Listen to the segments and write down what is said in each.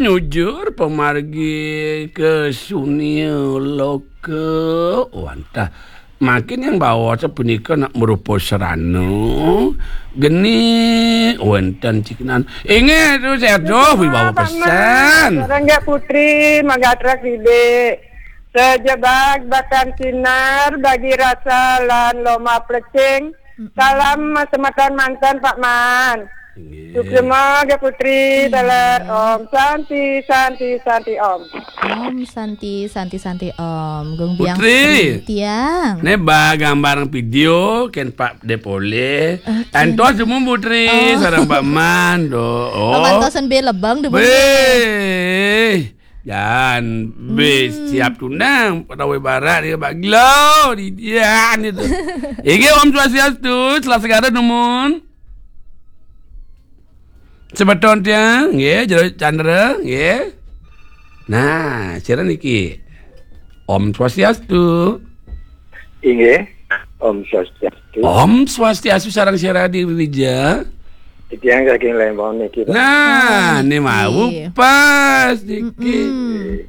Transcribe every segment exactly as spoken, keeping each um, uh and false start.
Nyujur pamargi ka sunia loka. Wantah, mangkin yang baos punika nak marupa sarana. Geni wénten cikinan. Inggih, tu saya tuh wibawa pesan. Sareng Putri, magatra sida. Sajebag batan sinar, bagi rasa lan loma plecing. Salam semeton manten, Pak Man. Inggih. Suksma, Gek Putri, teler. Om Santi, Santi, Santi, Om. Om Santi, Santi, Santi, Om. Gung Biang Putri. Tiang. Né ba gambar video kén Pak Dépolé. Oké. Antos dumun Putri, oh, sareng Pak Man, do. Oh. Pamantosan bé lebeng dumun. Wéh. Jan, bis siap tunang, Patawé Barat dia baglo di dia itu. Inggih, Om Swastiastu, Selasgara dumun. Semeton tiang, nggih, Jero Chandra, nggih. Nah, sira niki. Om Swastiastu. Inggih, Om Swastiastu. Om Swastiastu sareng sira di Wija. Tiang saking Lembang niki, Pak. Nah, ah, niki mau nggih. Pas niki. Mm-mm.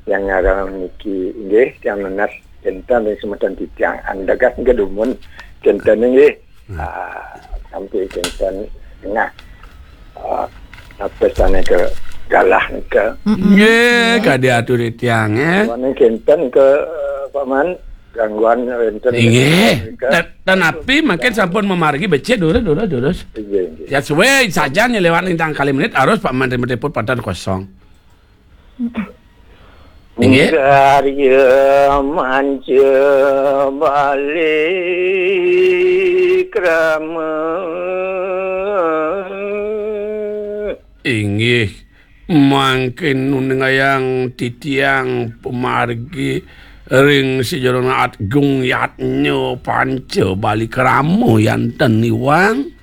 Tiang ngaran niki, inggih, tiang nunas kinten ring semeton titiang. Andegas nggih dumun kinten nggih. Hmm. Ah, sampai kinten tengah. Ah, apa sana ke galah ke. Mm-mm. Nggih, kadi atur titiang, eh. Wonten kinten ke, eh, Paman, gangguan wénten. Inggih. Ke. Tan-, tanapi mangkin sampun mamargi becik, durus, durus, durus. Inggih, inggih. Ya, suwe saja nih lewat lintang kali menit, harus Pak Menteri Menteri pun pada kosong. Inggih. Karya manca balik rama. Inggih, mangkin nuningayang titiang pamargi ring sajeroning atgung yatnya panca balikrama yanten iwang.